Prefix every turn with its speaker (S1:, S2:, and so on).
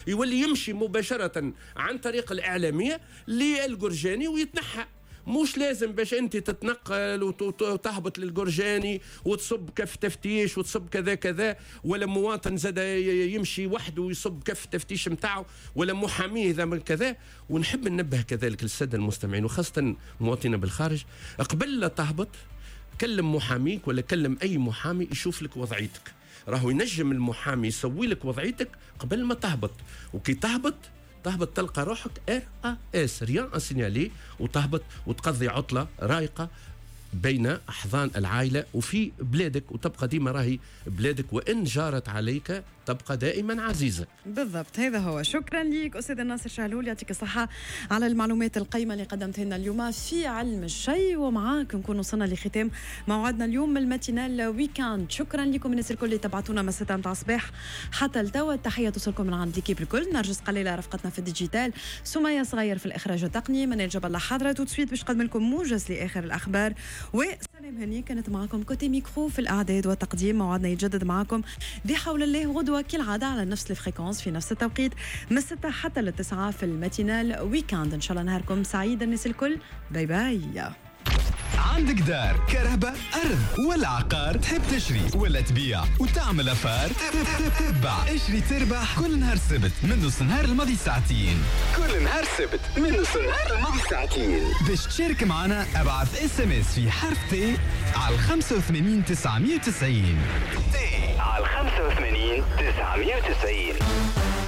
S1: يولي يمشي مباشرة عن طريق الاعلامية للقرجاني ويتنحى. مش لازم باش انت تتنقل وتهبط للقرجاني وتصب كف تفتيش وتصب كذا كذا، ولا مواطن زاد يمشي وحده ويصب كف تفتيش نتاعو، ولا محاميه اذا من كذا. ونحب ننبه كذلك للسادة المستمعين وخاصة مواطنين بالخارج، قبل لا تهبط كلم محاميك ولا كلم اي محامي يشوف لك وضعيتك. راهو ينجم المحامي يسوي لك وضعيتك قبل ما تهبط، وكي تهبط تلقى روحك RAS، rien à signaler، وتهبط وتقضي عطله رايقة بين احضان العائلة وفي بلادك، وتبقى ديما راهي بلادك، وان جارت عليك تبقى دائما عزيزه.
S2: بالضبط، هذا هو. شكرا لك استاذ الناصر شهلول، يعطيك الصحة على المعلومات القيمة اللي قدمتها لنا اليوم في علم الشيء. ومعاك نكون وصلنا لختام موعدنا اليوم من ال matinale week-end. شكرا لكم الناس الكل اللي تبعتونا من 6 متاع الصباح حتى لتوا. التحية توصلكم من عند l'équipe الكل، نرجس قليله رفقتنا في ال digital، سميه صغير في الاخراج التقني، منال جاب الله حاضره tout de suite باش نقدم لكم موجز لاخر الاخبار، وسلام هني كانت معكم côté micro في الاعداد والتقديم. موعدنا يتجدد معكم بحول الله غدوه كالعادة على نفس ال fréquence في نفس التوقيت من 6 حتى للتسعة في ال matinale week-end. ان شاء الله نهاركم سعيد الناس الكل، bye bye.
S3: عندك دار، كرهبة، أرض ولا عقار، تحب تشري ولا تبيع وتعمل affaire؟ تبع اشري تربح كل نهار سبت من نص نهار الماضي ساعتين. كل نهار سبت من نص نهار الماضي ساعتين. باش تشارك معنا ابعث SMS في حرف T على 85 990. T على 85 990.